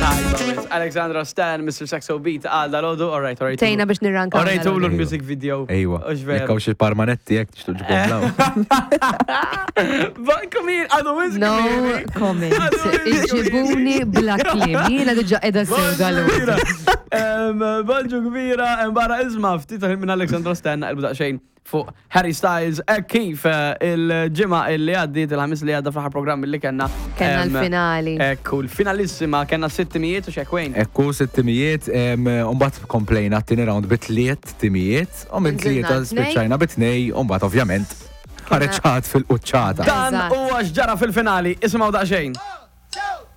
Tajba, wis. Alexandra Stan, Mr. Saxo Beat, għal dal-ħodu, all right, all right. Tejna biex nirrankaw. All right, dal-għodu. l-music video. Ejwa. Ux veru. Jekk hawn xi parmanetti jekk tixtuq ġibhom law. Ba- Come here, għadu wis No comment. Iġibuni bla kliem. Jiena diġa qiegħda sew dal-għodu. Bonġu kbira, barra isma ftit minn Alexandra Stan naqilbu daqsxejn fuq Harry Styles hekk kif eh, il-ġimgħa illi għaddiet il-ħamis li għadda fl-aħħar programm li kellna. Kellna em, l-finali. Ekku, l-finalissima kellna sitt timijiet u xekwejn. Ekku, sitt timijiet, umbagħad komplejna t-tieni round bi tliet timijiet, u minn Nżilna tlieta tnej. spiċċajna bi tnej, umbagħad ovvjament ħareġ ħadd fil-quċċata. Dan Eżatt. huwa x'ġara fil-finali, isimgħu daqsxejn.